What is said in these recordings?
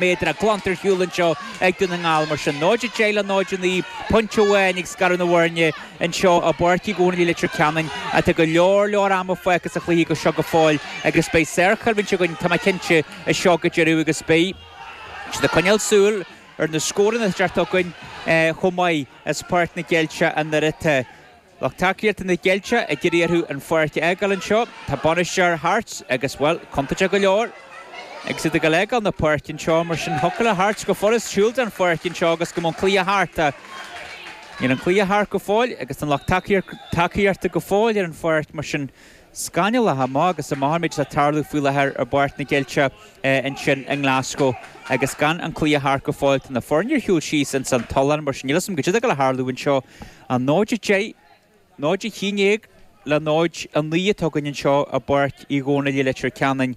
Méadar glanta ar shiúl anseo ag Dún na nGall mar sin 0-10 le 0-9, pointe amháin ag scaradh na bhfoirne anseo i bPáirc Uí Dhónaill i Leitir Ceanainn. Tá go leor leor ama fágtha sa chluiche go seo go fóill agus beidh sárchoimhlint againn, tá mé cinnte, as seo go deireadh agus beidh siad ag coinneáil súil ar na scóranna atá ag teacht chugainn chomh maith as Páirc na gCeilteach anuraidh. Lucht tacaíochta na gCeilteach ag iarraidh orthu an pháirc a fhágáil anseo. Tá bainisteoir Hearts agus, bhuel, contúirteach go leor agus iad ag dul a fhágáil na páirce anseo. Mar sin, thiocfadh le Hearts go furast siúl den pháirc anseo agus go mbeadh an cluiche thart. Níl an cluiche thart go fóill agus tá an lucht tacaíochta go fóill ar an pháirc. Mar sin, scannalach amach is amach an méid atá ag tarlú faoi láthair i bPáirc na gCeilteach ansin i nGlasgow agus gan an cluiche thart go fóill. Tá na foirne ar shiúl síos ins an tollán mar sin níl 'fhios a'm goidé atá ag dul a tharlú anseo. 0-10, 0-11 le 0-9 atá againn anseo i bPáirc Uí Dhónaill i Leitir Ceanainn.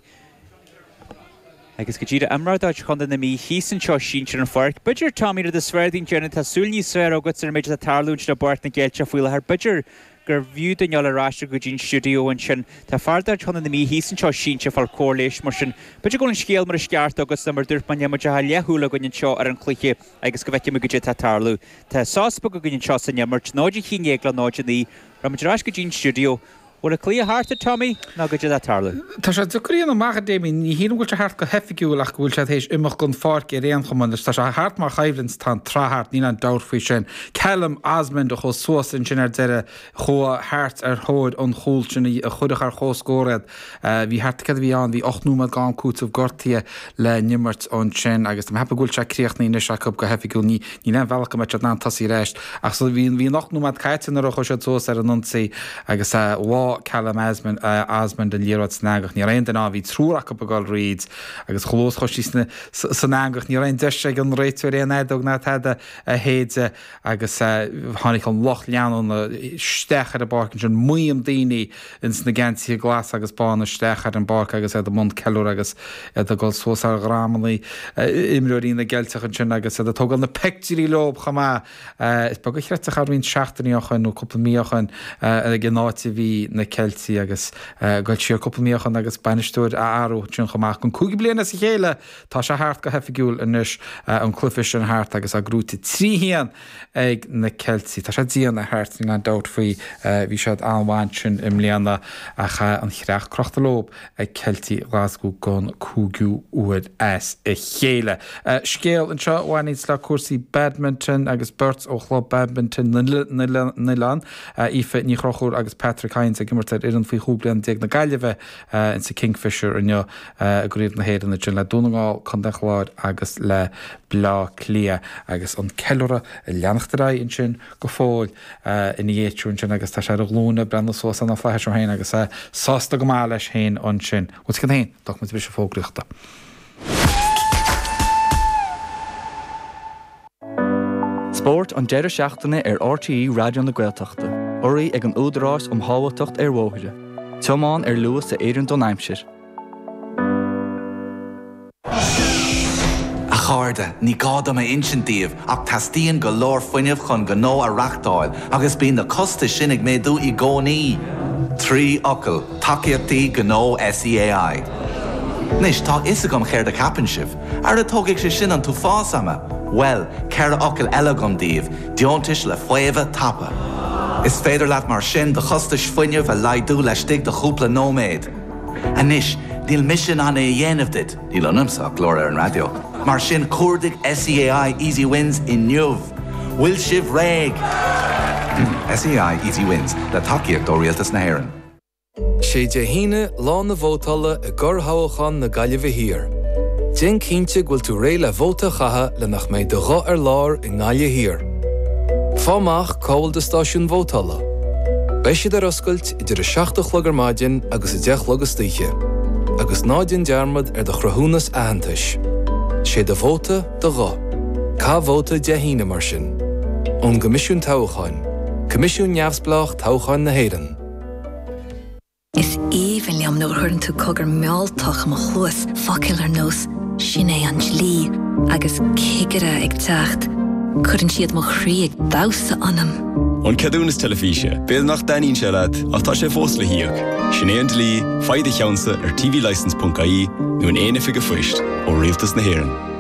Agus go díreach imreoir de chuid Chontae na Mí thíos anseo sínte ar an pháirc. B'fhéidir, Tommy, rud is fearr dúinn déanamh, tá súil níos fearr agat ar an méid atá ag tarlú ansin i bPáirc na gCeilteach faoi láthair. B'fhéidir gurbh fhiú dúinn dul ar ais go dtí an stiúideo ansin. Tá fear de chuid Chontae na Mí thíos anseo sínte ag fáil cóir leighis, mar sin b'fhéidir go bhfuil an scéal mar is ceart agat ná mar dúirt mé, níl muid ach leathshúil againn anseo ar an chluiche agus go bhfeicfidh muid goidé atá ag tarlú. Tá sos beag againn anseo san imirt, 0-11 le 0-9. Rachaidh muid ar ais go dtí an stiúideo. Bhfuil an cluiche thart, a Tommy, nó goidé atá ag tarlú? Tá sé deacair a dhéanamh amach, a Damien. Ní shílim go bhfuil sé thart go hoifigiúil ach go bhfuil sé tar éis imeacht den pháirc ar aon chuma. Anois, tá sé thart mar choimhlint, tá an tsraith thart, níl aon dabht faoi sin. Callum Osmond a chuaigh suas ansin ar deireadh, chuaigh Hearts ar thóir an chúil sin a chuirfeadh ar comhscór iad. Bhí thart, céard a bhí ann, bhí 8 nóiméad d'am cúitimh gortaithe le n-imirt ansin agus tá mé ag ceapadh go bhfuil sé críochnaithe anois acu go hoifigiúil. Ní, Níl aon bhealach go mbeadh siad in ann tosaí ar ais ach so bhí bhí an 8 nóiméad caite nuair a chuaigh siad suas ar an ionsaí agus bháigh Callum Osmond Osmond an liathróid san eangach. Ní raibh aon duine ann, bhí triúr acu ag dul thríd agus chomh luath is a chuaigh sí sna san eangach ní raibh aon deis ag an réiteoir aon fheadóg ná tada a shéideadh agus tháinig an lucht leanúna isteach ar an bpáirc ansin, maidhm daoine ins na geansaithe glasa agus bána isteach ar an bpáirc agus iad i mbun ceiliúradh agus iad ag dul suas ar dhromanna imreoirí na gCeilteach ansin agus iad ag tógáil na peictiúirí leob chomh maith. Is beag a chreidfeadh é roinnt seachtainí ó shoin nó cúpla mí ó shoin ag an áit a bhí na Ceiltigh agus ag dul siar cúpla mí ó shoin agus bainisteoir a athrú ansin chomh maith. Don cúigiú bliain as a chéile tá sé thart go hoifigiúil anois, an cluiche sin thart agus é gnóite 3-1 ag na Ceiltigh. Tá sé dian ar Hearts, níl aon dabht faoi. Bhí siad an-mhaith ansin i mbliana ach an chreach crochta leob ag Ceiltigh Ghlaschú don cúigiú huair as a chéile. Scéal anseo a bhaineanns le cúrsaí badminton agus beirt ó Chlub Badminton na nOileán, Aoife Ní Chonchúir agus Patrick Hynes ag imirt ar fhoireann faoi chúig bliana déag na Gaillimhe insa Kingfisher inniu i gCraobh na hÉireann ansin le Dún na nGall, Contae an Chláir agus le Bleá Cliath agus an ceiliúradh ag leanacht ar aghaidh ansin go fóill ina dhiaidh sin ansin agus tá sé ar a ghlúine ag breathnú suas ar na flaithis é féin agus é sásta go maith leis féin ansin. Bhuel, sin féin, tógfaidh muid briseadh fógraíochta. Spórt an deireadh seachtaine ar RTÉ Raidió na Gaeltachta, urraithe ag an Údarás um Shábháilteacht ar Bhóithre. Tiomáin ar luas a oireann don aimsir. A chairde, ní gá dom a insint daoibh ach teastaíonn go leor fuinnimh chun gnó a reachtáil agus bíonn na costais sin ag méadú i gcónaí. 3 fhocal, tacaíochtaí gnó SEAI. Anois, tá a fhios agam céard a cheapann sibh. Ara tógfaidh sé sin an t-uafás ama! Bhuel, 4 fhocal eile agam daoibh, deontais le faomhadh tapa. Is féidir leat mar sin do chostais fuinnimh a laghdú laistigh de chúpla nóiméad. Anois, níl mise in ann é a dhéanamh duit, níl ionamsa ach glór ar an raidió, mar sin cuardaigh SEAI Easy Wins inniu! Bhfuil sibh réidh? SEAI Easy Wins, le tacaíocht ó Rialtas na hÉireann. Sé Dé hAoine lá na vótála i gcorrthoghchán na Gaillimhe Thiar. Déan cinnte go bhfuil tú réidh le vóta a chaitheamh le nach mbeidh do ghuth ar lár i nGaillimh Thiar. Fáigh amach cá bhfuil do stáisiún vótála. Beidh siad ar oscailt idir 7 a chlog ar maidin agus 10 a chlog istoíche. Agus ná déan dearmad ar do chruthúnas aitheantais. Sé do vóta, do ghuth. Caith vóta Dé hAoine mar sin. Ón gCoimisiún Toghcháin, Coimisiún Neamhspleách Toghcháin na hÉireann. Is aoibhinn liom nuair a chuireann tú cogar mealltach i mo chluas, focail ar nós 'sin é an dlí' agus 'cigire ag teacht'. Cuireann siad mo chroí ag damhsa ionam. An ceadúnas teilifíse, b'fhéidir nach dtaitníonn sé leat, ach tá sé fós le híoc. Sin é an dlí, faigh do cheannsa ar tvlicence.ie nó in aon oifig an phoist ó Rialtas na hÉireann.